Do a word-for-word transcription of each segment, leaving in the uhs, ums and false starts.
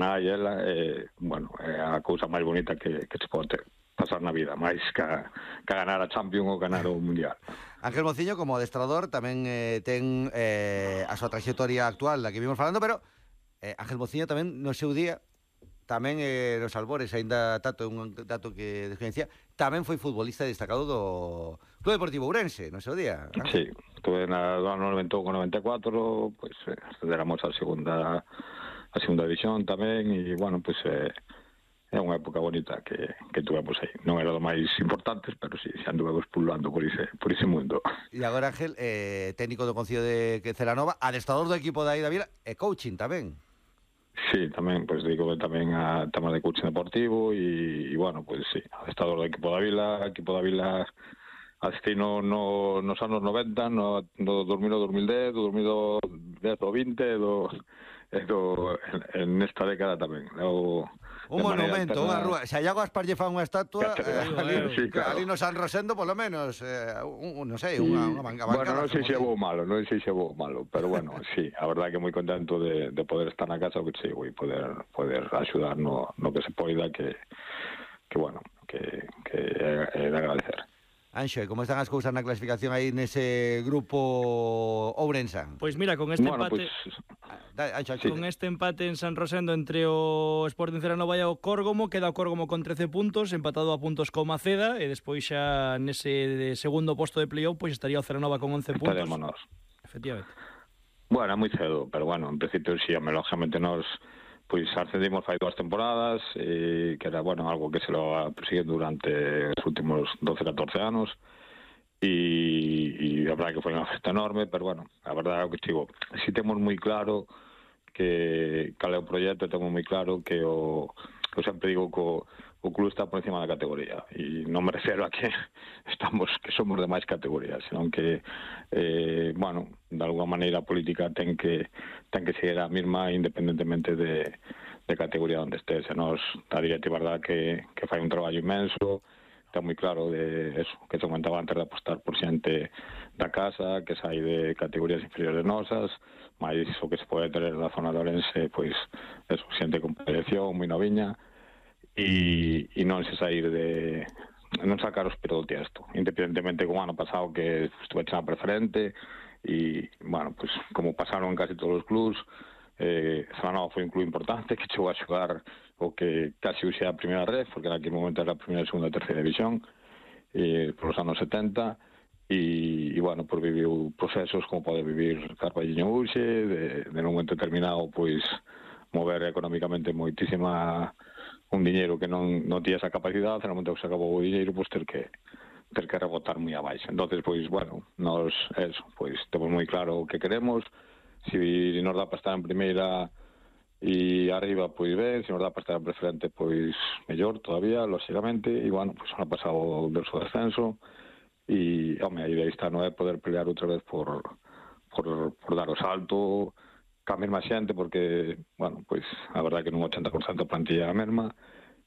nai e ela, eh, bueno, é a cousa máis bonita que, que se pode ter, pasar na vida, máis que, que ganar a Champions ou ganar o Mundial. Ángel Mociño, como adestrador, tamén eh, ten eh, a súa trayectoria actual da que vimos falando, pero eh, Ángel Mociño tamén no seu día, tamén eh, nos albores, aínda tato, un dato que desconhecía, tamén foi futbolista destacado do Club Deportivo Ourense, no seu día. Ángel. Sí, estuve na do ano noventa e un con noventa e catro, pois pues, eh, accederamos a segunda a segunda división tamén, e, bueno, pois pues, eh, é unha época bonita que, que tuvemos aí. Non era do máis importantes, pero sí, xa anduvemos pululando por ese, por ese mundo. E agora, Ángel, eh, técnico do Concello de Celanova, adestrador do equipo da Ida Vila e coaching tamén. Sí, tamén, pois, pues, digo tamén a temas de coaching deportivo e, e bueno, pois pues, sí, adestrador do equipo da Vila, equipo da Vila asistí no, no, nos anos noventa, no, no dos mil ao dos mil dez, do dos mil dez ao vinte, do, do, en, en esta década tamén. O, un monumento, unha rúa. Se a Iago Aspar lle fan unha estatua, eh, ali, sí, claro. Ali no San Rosendo, polo menos, eh, un, non sei, unha, unha banca. Bueno, non sei se é bo malo, non sei se é bo malo, pero bueno, sí, a verdade que moi contento de, de poder estar na casa, que sí, e poder, poder axudar no, no que se poida, que, que bueno, que, que é de agradecer. Anxo, como están as cousas na clasificación aí nese grupo Ourense? Pois mira, con este bueno, empate pues, da, Anxo, Anxo. Con este empate en San Rosendo entre o Sporting Celanova e o Córgomo, queda o Córgomo con trece puntos, empatado a puntos co Maceda, e despois xa nese segundo posto de playoff pois estaría o Celanova con once puntos. Estarémonos. Efectivamente. Bueno, moi cedo, pero bueno, en principio si, sí, lógicamente nos pois ascendimos fai dúas temporadas, e que era, bueno, algo que se lo va persiguiendo durante os últimos doce, catorce anos, e, e a verdade que foi unha festa enorme, pero bueno, a verdade é que digo, si temos moi claro que cal é o proxecto, temos moi claro que o, eu sempre digo que o, o club está por encima da categoría, e non me refero a que estamos, que somos de máis categorías, senón que eh, bueno, de alguma maneira a política ten que ten que seguir a mesma independentemente de, de categoría onde estés. E nos, a directiva, verdad, que, que fai un traballo inmenso, está moi claro de eso, que se comentaba antes de apostar por xente da casa, que sai de categorías inferiores nosas, máis o que se pode ter na zona de Ourense, pois, eso, xente con proyección, moi noviña, e, e non se sair de non sacar os pelos do tiesto, independentemente como ano pasado que estuve na preferente, e, bueno, pues como pasaron en casi todos os clubs, eh, Celanova foi un club importante que chegou a xogar o que casi uxe a primeira red, porque en aquel momento era a primeira, segunda e terceira división, eh, por os anos setenta, e, e bueno, por viviu procesos como pode vivir Carballiño Uxe, de, de un momento determinado, pois, mover económicamente moitísima un diñeiro que non, non tía esa capacidade, no momento que se acabou o diñeiro, pois ter que ter que rebotar moi abaixo. Entonces, pois, bueno, nos, eso, pois, temos moi claro o que queremos, se si nos dá para estar en primeira e arriba, pois ben, se nos dá para estar en preferente, pois, mellor todavía, lógicamente, e, bueno, pois, ano pasado o verso descenso, e, home, a idea está non é poder pelear outra vez por, por, por dar o salto, ca mesma xente, porque, bueno, pois, a verdade que nun ochenta por cento plantilla a mesma,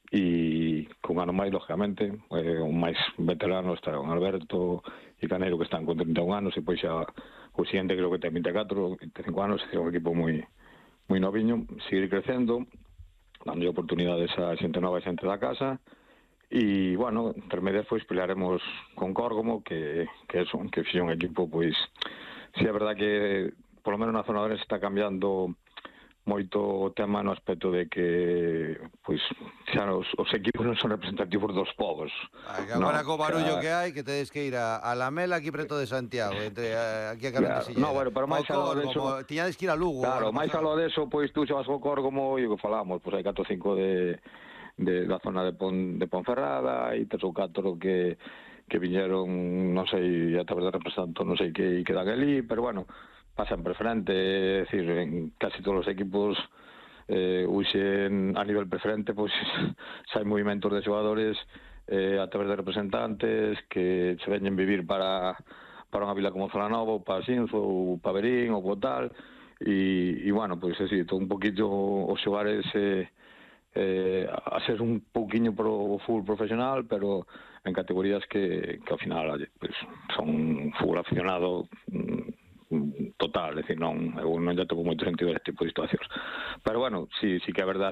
e cun ano máis, lógicamente, eh, un máis veterano está un Alberto e Caneiro, que están con trinta e un anos, e pois xa o siguiente creo que ten vinte e catro, vinte e cinco anos, é un equipo moi moi noviño, seguir crecendo, dando oportunidades a xente nova e xente da casa, e, bueno, intermedias, pois, pelearemos con Córgomo, que, que é un, que fixe un equipo, pois, si é verdade que, polo menos na zona de está cambiando moito o tema no aspecto de que, pois, xa os, os equipos non son representativos dos povos. Agora, no, co barullo xa... que hai, que tedes que ir a, a Lamela aquí preto de Santiago, entre aquí a Carretesilla. Claro, no, bueno, pero máis algo de eso... Tiñades que ir a Lugo. Claro, máis algo de eso, pois, tú xa vas co Córgomo, e o que falamos, pois hai catro ou cinco de, de, da zona de, Pon, de Ponferrada, e tres ou catro que, que viñeron, non sei, a través de representantes, non sei que, que dan ali, pero, bueno, pasan preferente, é dicir, en casi todos os equipos eh, uxen a nivel preferente, pois xa hai movimentos de xogadores eh, a través de representantes que se veñen vivir para, para unha vila como Celanova, ou para Xinzo, ou para Verín, ou para tal, e, e bueno, pois así, todo un poquillo os xogares eh, eh, a ser un pouquiño pro fútbol profesional, pero en categorías que, que ao final pues, son fútbol aficionado total, é dicir, non, eu non lle toco moito sentido a este tipo de situacións. Pero bueno, sí, sí que é verdade